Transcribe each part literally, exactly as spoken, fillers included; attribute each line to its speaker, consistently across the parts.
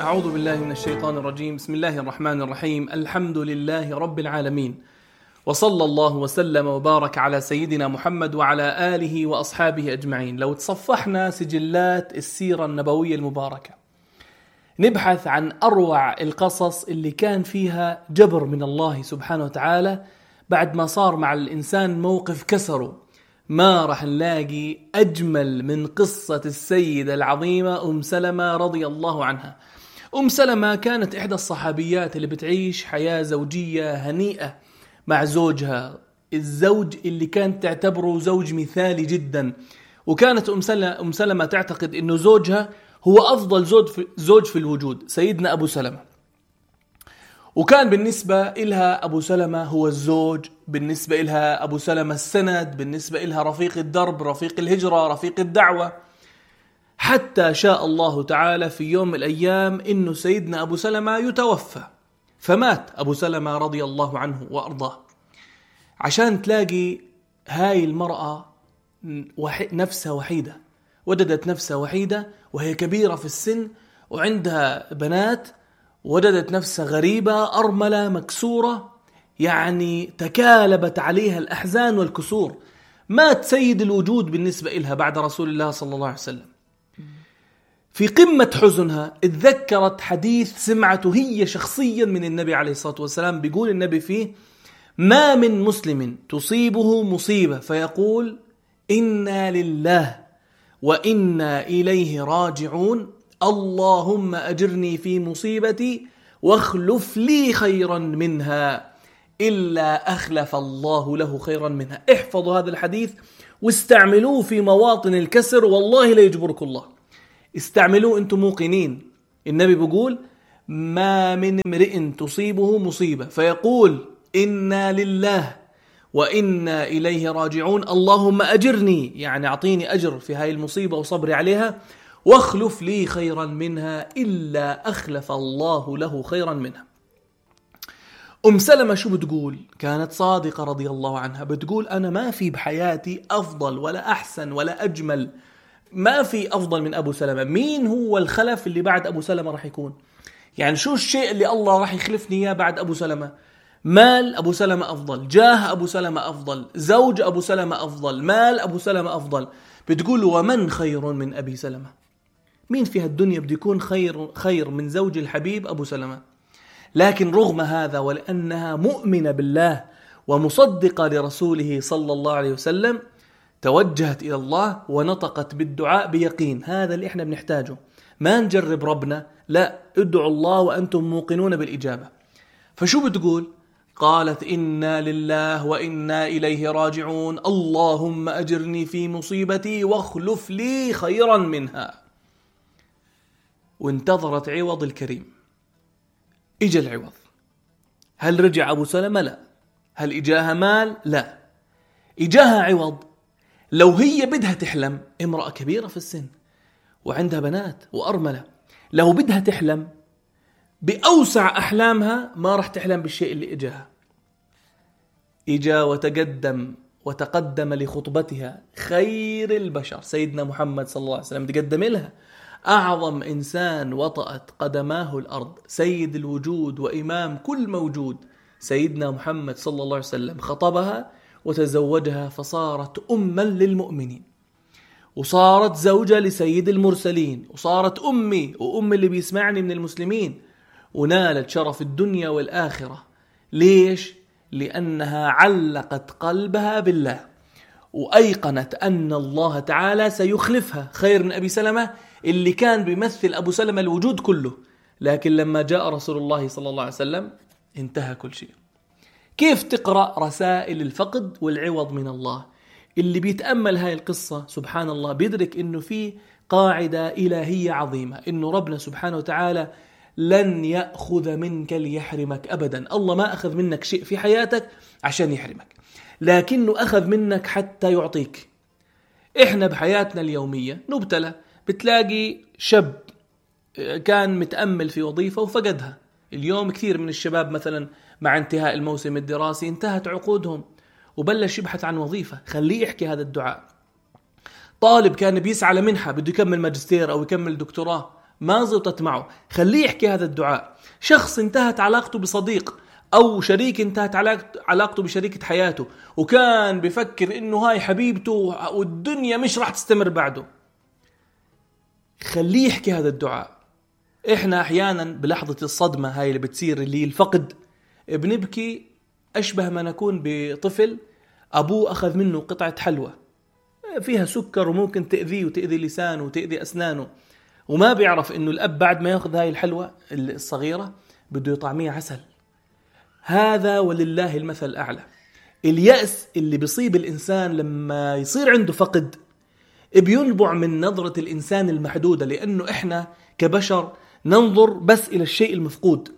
Speaker 1: أعوذ بالله من الشيطان الرجيم. بسم الله الرحمن الرحيم. الحمد لله رب العالمين، وصلى الله وسلم وبارك على سيدنا محمد وعلى آله وأصحابه أجمعين. لو تصفحنا سجلات السيرة النبوية المباركة نبحث عن أروع القصص اللي كان فيها جبر من الله سبحانه وتعالى بعد ما صار مع الإنسان موقف كسره، ما رح نلاقي أجمل من قصة السيدة العظيمة أم سلمة رضي الله عنها. أم سلمة كانت إحدى الصحابيات اللي بتعيش حياة زوجية هنيئة مع زوجها، الزوج اللي كانت تعتبره زوج مثالي جدا، وكانت أم سلمة, أم سلمة تعتقد أنه زوجها هو أفضل زوج في, زوج في الوجود، سيدنا أبو سلمة. وكان بالنسبة إلها أبو سلمة هو الزوج، بالنسبة إلها أبو سلمة السند، بالنسبة إلها رفيق الدرب، رفيق الهجرة، رفيق الدعوة. حتى شاء الله تعالى في يوم من الأيام إنه سيدنا أبو سلمة يتوفى، فمات أبو سلمة رضي الله عنه وأرضاه. عشان تلاقي هاي المرأة نفسها وحيدة، وجدت نفسها وحيدة وهي كبيرة في السن وعندها بنات، وجدت نفسها غريبة أرملة مكسورة، يعني تكالبت عليها الأحزان والكسور. مات سيد الوجود بالنسبة إلها بعد رسول الله صلى الله عليه وسلم. في قمة حزنها اتذكرت حديث سمعته هي شخصيا من النبي عليه الصلاة والسلام، بيقول النبي فيه: ما من مسلم تصيبه مصيبة فيقول إنا لله وإنا إليه راجعون، اللهم أجرني في مصيبتي واخلف لي خيرا منها، إلا أخلف الله له خيرا منها. احفظوا هذا الحديث واستعملوه في مواطن الكسر، والله لا يجبركم الله. استعملوه أنتم موقنين. النبي بيقول: ما من امرئ تصيبه مصيبة فيقول إنا لله وإنا إليه راجعون، اللهم أجرني، يعني أعطيني أجر في هاي المصيبة وصبري عليها، واخلف لي خيرا منها، إلا أخلف الله له خيرا منها. أم سلمة شو بتقول؟ كانت صادقة رضي الله عنها، بتقول: أنا ما في بحياتي أفضل ولا أحسن ولا أجمل، ما في أفضل من أبو سلمة. مين هو الخلف اللي بعد أبو سلمة رح يكون؟ يعني شو الشيء اللي الله رح يخلفني إياه بعد أبو سلمة؟ مال أبو سلمة أفضل، جاه أبو سلمة أفضل، زوج أبو سلمة أفضل، مال أبو سلمة أفضل. بتقول: ومن خير من أبي سلمة؟ مين في هالدنيا بده يكون خير خير من زوج الحبيب أبو سلمة؟ لكن رغم هذا، ولأنها مؤمنة بالله ومصدقة لرسوله صلى الله عليه وسلم، توجهت إلى الله ونطقت بالدعاء بيقين. هذا اللي احنا بنحتاجه، ما نجرب ربنا، لا، ادعوا الله وأنتم موقنون بالإجابة. فشو بتقول؟ قالت: إنا لله وإنا إليه راجعون، اللهم أجرني في مصيبتي واخلف لي خيرا منها. وانتظرت عوض الكريم. إجا العوض. هل رجع أبو سلمة؟ لا. هل إجاها مال؟ لا. إجاها عوض. لو هي بدها تحلم، امرأة كبيرة في السن وعندها بنات وأرملة، لو بدها تحلم بأوسع أحلامها ما رح تحلم بالشيء اللي إجاها. إجا وتقدم وتقدم لخطبتها خير البشر سيدنا محمد صلى الله عليه وسلم، تقدم لها أعظم إنسان وطأت قدماه الأرض، سيد الوجود وإمام كل موجود، سيدنا محمد صلى الله عليه وسلم. خطبها وتزوجها فصارت أما للمؤمنين، وصارت زوجة لسيد المرسلين، وصارت أمي وأم اللي بيسمعني من المسلمين، ونالت شرف الدنيا والآخرة. ليش؟ لأنها علقت قلبها بالله، وأيقنت أن الله تعالى سيخلفها خير من أبي سلمة اللي كان بيمثل أبو سلمة الوجود كله. لكن لما جاء رسول الله صلى الله عليه وسلم انتهى كل شيء. كيف تقرأ رسائل الفقد والعوض من الله؟ اللي بيتأمل هاي القصة سبحان الله بيدرك إنه في قاعدة إلهية عظيمة، إنه ربنا سبحانه وتعالى لن يأخذ منك ليحرمك أبدا. الله ما أخذ منك شيء في حياتك عشان يحرمك، لكنه أخذ منك حتى يعطيك. إحنا بحياتنا اليومية نبتلى، بتلاقي شاب كان متأمل في وظيفة وفقدها. اليوم كثير من الشباب مثلا مع انتهاء الموسم الدراسي انتهت عقودهم وبلش يبحث عن وظيفة. خليه يحكي هذا الدعاء. طالب كان بيسعى لمنحة، بده يكمل ماجستير أو يكمل دكتوراه، ما زبطت معه، خليه يحكي هذا الدعاء. شخص انتهت علاقته بصديق أو شريك انتهت علاقته بشريكة حياته وكان بفكر إنه هاي حبيبته والدنيا مش راح تستمر بعده، خليه يحكي هذا الدعاء. إحنا أحيانا بلحظة الصدمة هاي اللي بتصير اللي الفقد بنبكي أشبه ما نكون بطفل أبوه أخذ منه قطعة حلوى فيها سكر وممكن تأذيه وتأذي لسانه وتأذي أسنانه، وما بيعرف إنه الأب بعد ما يأخذ هاي الحلوى الصغيرة بده يطعميها عسل. هذا ولله المثل الأعلى. اليأس اللي بيصيب الإنسان لما يصير عنده فقد بينبع من نظرة الإنسان المحدودة، لأنه إحنا كبشر ننظر بس إلى الشيء المفقود،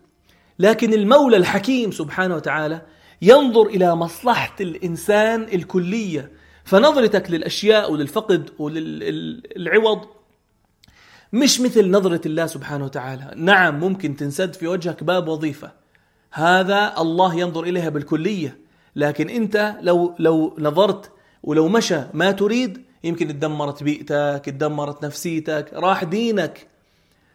Speaker 1: لكن المولى الحكيم سبحانه وتعالى ينظر إلى مصلحة الإنسان الكلية. فنظرتك للأشياء وللفقد وللعوض مش مثل نظرة الله سبحانه وتعالى. نعم ممكن تنسد في وجهك باب وظيفة، هذا الله ينظر إليها بالكلية، لكن أنت لو لو نظرت ولو مشى ما تريد يمكن اتدمرت بيئتك، اتدمرت نفسيتك، راح دينك،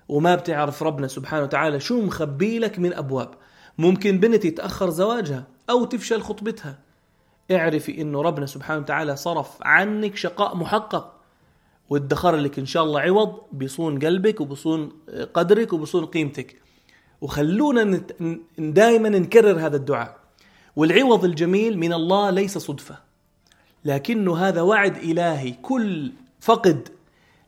Speaker 1: وما بتعرف ربنا سبحانه وتعالى شو مخبي لك من أبواب. ممكن بنت يتأخر زواجها أو تفشل خطبتها، اعرفي إنه ربنا سبحانه وتعالى صرف عنك شقاء محقق وادخر لك إن شاء الله عوض بيصون قلبك وبيصون قدرك وبيصون قيمتك. وخلونا دائما نكرر هذا الدعاء. والعوض الجميل من الله ليس صدفة، لكنه هذا وعد إلهي. كل فقد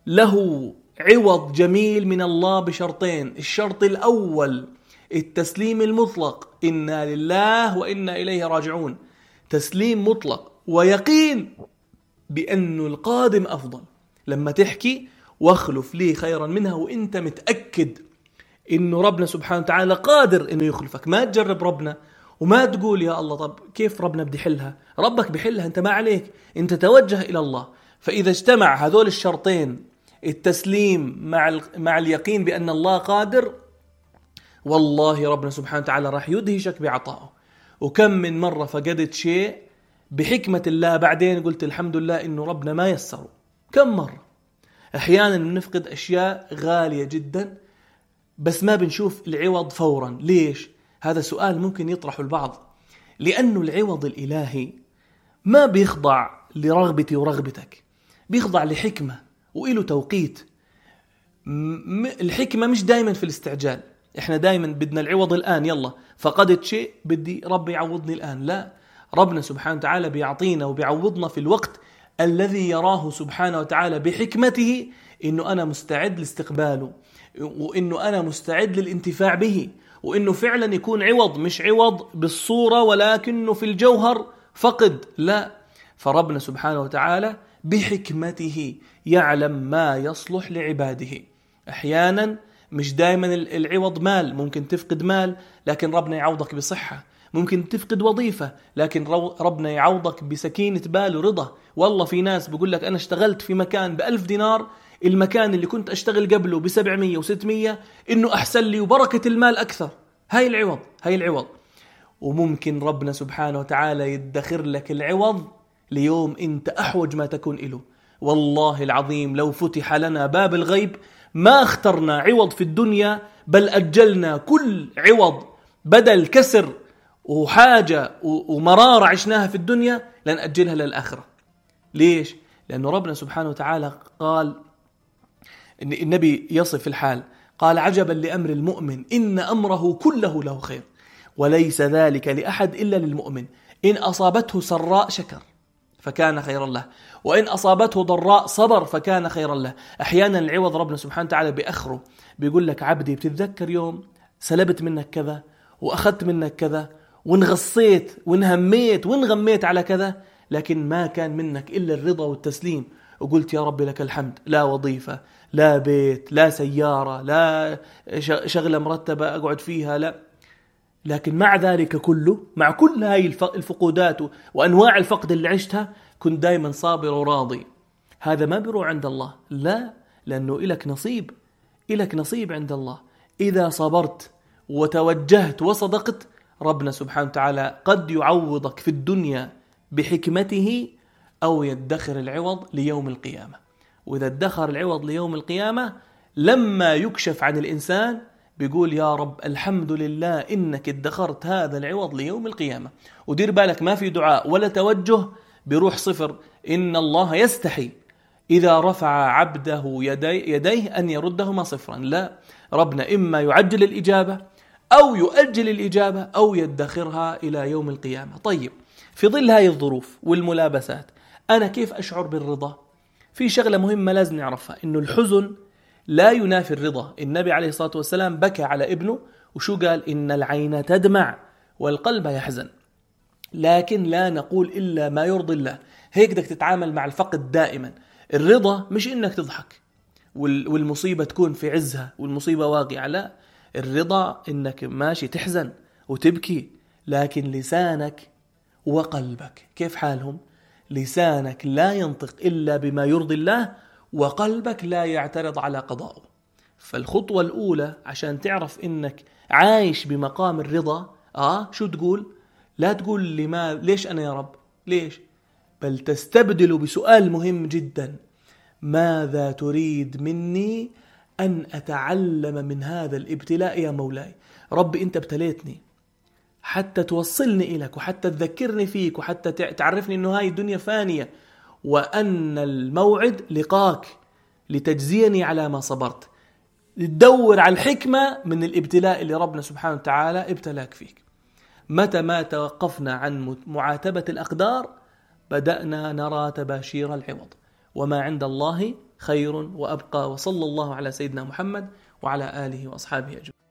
Speaker 1: له عوض جميل من الله بشرطين. الشرط الأول التسليم المطلق، إنا لله وإنا إليه راجعون، تسليم مطلق ويقين بأنه القادم أفضل. لما تحكي واخلف لي خيرا منها وإنت متأكد إنه ربنا سبحانه وتعالى قادر إنه يخلفك، ما تجرب ربنا وما تقول يا الله طب كيف ربنا بدي حلها، ربك بحلها، أنت ما عليك، أنت توجه إلى الله. فإذا اجتمع هذول الشرطين، التسليم مع مع اليقين بأن الله قادر، والله ربنا سبحانه وتعالى راح يدهشك بعطائه. وكم من مرة فقدت شيء بحكمة الله بعدين قلت الحمد لله إنه ربنا ما يسره. كم مرة أحيانا نفقد أشياء غالية جدا بس ما بنشوف العوض فورا. ليش؟ هذا سؤال ممكن يطرحه البعض. لأنه العوض الإلهي ما بيخضع لرغبتي ورغبتك، بيخضع لحكمة وإله توقيت. الحكمة مش دايما في الاستعجال. إحنا دايما بدنا العوض الآن، يلا فقدت شيء بدي ربي يعوضني الآن. لا، ربنا سبحانه وتعالى بيعطينا وبيعوضنا في الوقت الذي يراه سبحانه وتعالى بحكمته إنه أنا مستعد لاستقباله، وإنه أنا مستعد للانتفاع به، وإنه فعلا يكون عوض، مش عوض بالصورة ولكنه في الجوهر فقد. لا، فربنا سبحانه وتعالى بحكمته يعلم ما يصلح لعباده. أحيانا مش دائما العوض مال، ممكن تفقد مال لكن ربنا يعوضك بصحة، ممكن تفقد وظيفة لكن ربنا يعوضك بسكينة بال ورضا. والله في ناس بيقول لك أنا اشتغلت في مكان بألف دينار، المكان اللي كنت أشتغل قبله بسبعمية وستمية، إنه أحسن لي وبركة المال أكثر. هاي العوض، هاي العوض. وممكن ربنا سبحانه وتعالى يدخر لك العوض ليوم أنت أحوج ما تكون إله. والله العظيم لو فتح لنا باب الغيب ما اخترنا عوض في الدنيا، بل أجلنا كل عوض بدل كسر وحاجة ومرارة عشناها في الدنيا لن أجلها للآخرة. ليش؟ لأنه ربنا سبحانه وتعالى قال، إن النبي يصف الحال، قال عجبا لأمر المؤمن إن أمره كله له خير وليس ذلك لأحد إلا للمؤمن، إن أصابته سراء شكر فكان خيرا له، وإن أصابته ضراء صبر فكان خيرا له. أحيانا العوض ربنا سبحانه وتعالى بأخره، بيقول لك عبدي بتتذكر يوم سلبت منك كذا وأخذت منك كذا وانغصيت وانهميت وانغميت على كذا، لكن ما كان منك إلا الرضا والتسليم، وقلت يا رب لك الحمد، لا وظيفة، لا بيت، لا سيارة، لا شغلة مرتبة أقعد فيها، لا. لكن مع ذلك كله، مع كل هاي الفقودات وأنواع الفقد اللي عشتها، كنت دايما صابر وراضي. هذا ما بيروح عند الله، لا، لأنه إلك نصيب، إلك نصيب عند الله. إذا صبرت وتوجهت وصدقت، ربنا سبحانه وتعالى قد يعوضك في الدنيا بحكمته أو يدخر العوض ليوم القيامة. وإذا ادخر العوض ليوم القيامة لما يكشف عن الإنسان بيقول يا رب الحمد لله إنك ادخرت هذا العوض ليوم القيامة. ودير بالك ما في دعاء ولا توجه بيروح صفر. إن الله يستحي إذا رفع عبده يدي يديه أن يردهما صفرا. لا، ربنا إما يعجل الإجابة أو يؤجل الإجابة أو يدخرها إلى يوم القيامة. طيب، في ظل هذه الظروف والملابسات أنا كيف أشعر بالرضا؟ في شغلة مهمة لازم نعرفها، إنه الحزن لا ينافي الرضا. النبي عليه الصلاة والسلام بكى على ابنه وشو قال؟ إن العين تدمع والقلب يحزن، لكن لا نقول إلا ما يرضي الله. هيك بدك تتعامل مع الفقد دائما. الرضا مش إنك تضحك والمصيبة تكون في عزها والمصيبة واقعة، لا، الرضا إنك ماشي تحزن وتبكي، لكن لسانك وقلبك كيف حالهم؟ لسانك لا ينطق إلا بما يرضي الله، وقلبك لا يعترض على قضائه. فالخطوة الأولى عشان تعرف إنك عايش بمقام الرضا، آه شو تقول؟ لا تقول لما ليش أنا يا رب، ليش؟ بل تستبدل بسؤال مهم جدا: ماذا تريد مني أن أتعلم من هذا الابتلاء يا مولاي؟ ربي أنت ابتليتني حتى توصلني إليك، وحتى تذكرني فيك، وحتى تعرفني أنه هاي الدنيا فانية وأن الموعد لقاك لتجزيني على ما صبرت. تدور على الحكمة من الابتلاء اللي ربنا سبحانه وتعالى ابتلاك فيك. متى ما توقفنا عن معاتبة الأقدار بدأنا نرى تباشير العوض، وما عند الله خير وأبقى. وصلى الله على سيدنا محمد وعلى آله وأصحابه أجمعين.